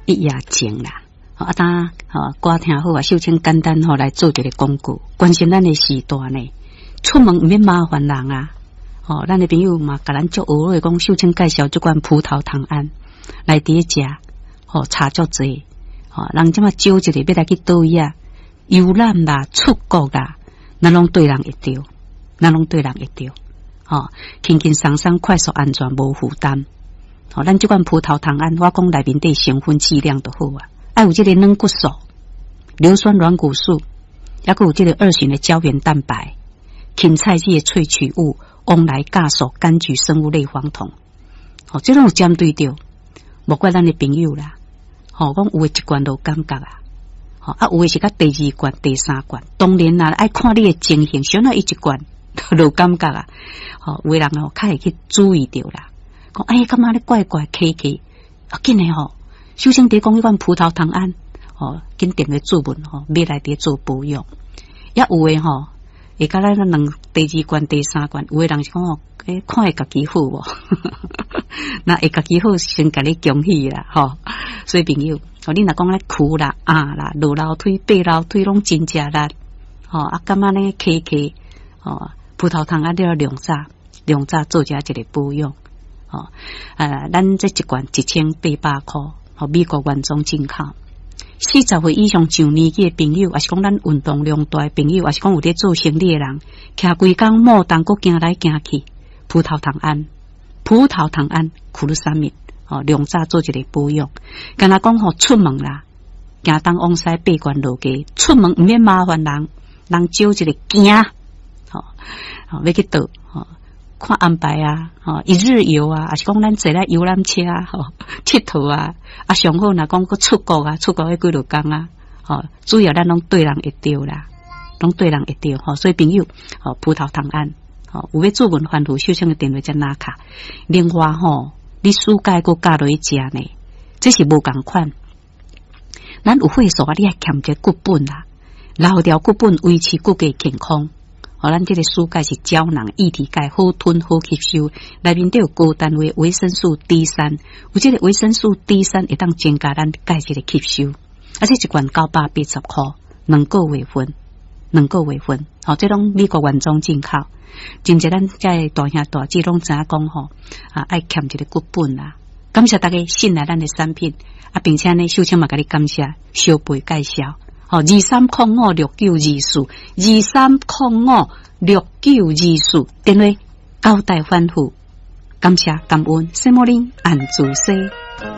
一夜情啦。啊，當吼歌聽好啊，秀清簡單吼來做一个廣告，關心咱的時代呢，出門毋免麻煩人啊。吼，咱的朋友嘛，共咱足學的講，秀清介紹這款葡萄糖胺來佇咧食，吼差足濟。吼，人這馬招一个欲來去佗位啊，遊覽啦，出國啦，咱攏對人會著，咱攏對人會著。吼，輕輕鬆鬆，快速安全，無負擔。吼，咱這款葡萄糖胺，我講內面底成分劑量就好啊。愛有這个軟骨素、硫酸軟骨素，抑閣有這个二型的膠原蛋白、芹菜籽的萃取物、旺來酵素、柑橘生物類黃酮。吼，這攏有針對著，莫怪咱的朋友啦。吼，講有的一罐就感覺啊，吼啊，有的是較第二罐、第三罐。當然啦，愛看你的情形，啥人伊一罐就感覺啊。吼，有的人哦，較會去注意著啦。講哎，感覺咧怪怪奇奇，啊，緊的吼。首先，佇講彼款葡萄糖胺，吼，緊定個注文吼，買來佇做保養。也有的吼，會共咱兩第二罐、第三罐，有的人是講吼，欸，看會家己好無？那會家己好，先共你恭喜啦，吼。所以朋友，吼，你若講咧跍啦、壓啦、落樓梯、爬樓梯攏真食力，吼，啊，感覺呢起起，吼，葡萄糖胺你要量早量早做遮一个保養，吼，啊，咱這一罐1800箍。吼，美國原裝進口，40歲以上上年紀的朋友，抑是講咱運動量大的朋友，抑是講有佇做生理的人，徛規工莫動，閣行來行去，葡萄糖胺，葡萄糖胺，苦魯三米，吼，量早做一个保養。敢若講吼出門啦，行東往西爬懸落低，出門毋免麻煩人，人招一个行，吼，吼，欲去佗，吼。看安排啊，吼，一日遊啊，抑是講咱坐咧遊覽車啊，吼，𨑨迌啊，啊，上好若講閣出國啊，出國彼幾落工啊，吼，主要咱攏對人會著啦，攏對人會著吼，所以朋友，吼，葡萄糖胺，吼，有欲注文煩惱，秀清的電話才拿卡。另外吼，你暑假閣加落去食呢，這是無仝款。咱有會所啊，你愛欠一个骨本啦，留掉骨本維持骨骼健康。吼，咱這个暑鈣是膠囊液體鈣，好吞好吸收，內面底有高單位維生素 D 三，有這个維生素 D 三會當增加咱鈣質的吸收。啊，這一罐980箍，兩個月份，兩個月份，吼，這攏美國原裝進口。真濟咱遮大兄大姊攏知影講吼，啊，愛欠一个骨本啦。感謝大家信賴咱的產品，啊，並且呢，秀清嘛共你感謝小貝介紹。吼，23056924，23056924，電話交代吩咐，感謝感恩，什麼恁按主說。